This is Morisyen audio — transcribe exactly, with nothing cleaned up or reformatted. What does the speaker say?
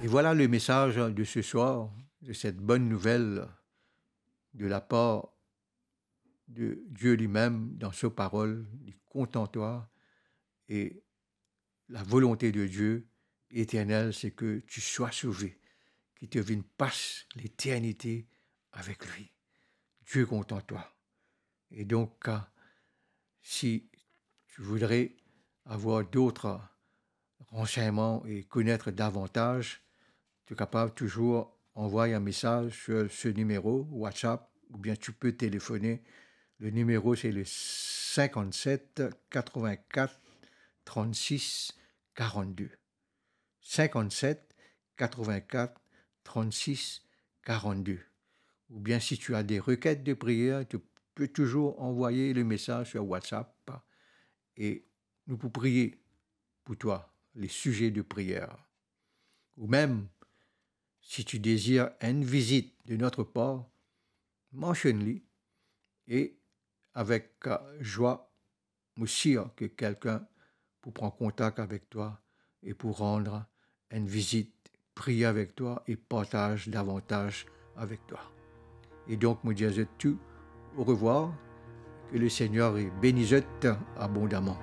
Et voilà le message de ce soir, de cette bonne nouvelle de la part de Dieu lui-même dans sa parole, il est content toi, et la volonté de Dieu éternelle, c'est que tu sois sauvé, que tu viennes passer l'éternité avec lui. Dieu content toi. Et donc, euh, si tu voudrais avoir d'autres renseignements et connaître davantage, tu es capable toujours envoyer un message sur ce numéro WhatsApp ou bien tu peux téléphoner. Le numéro, c'est le cinquante-sept quatre-vingt-quatre trente-six quarante-deux. Cinquante-sept quatre-vingt-quatre trente-six quarante-deux. Ou bien si tu as des requêtes de prière, tu peux toujours envoyer le message sur WhatsApp et nous pour prier pour toi, les sujets de prière. Ou même, si tu désires une visite de notre part, mentionne-le et avec euh, joie, nous sûr que quelqu'un pour prendre contact avec toi et pour rendre une visite, prier avec toi et partager davantage avec toi. Et donc, nous disons tout, au revoir, que le Seigneur bénisse abondamment.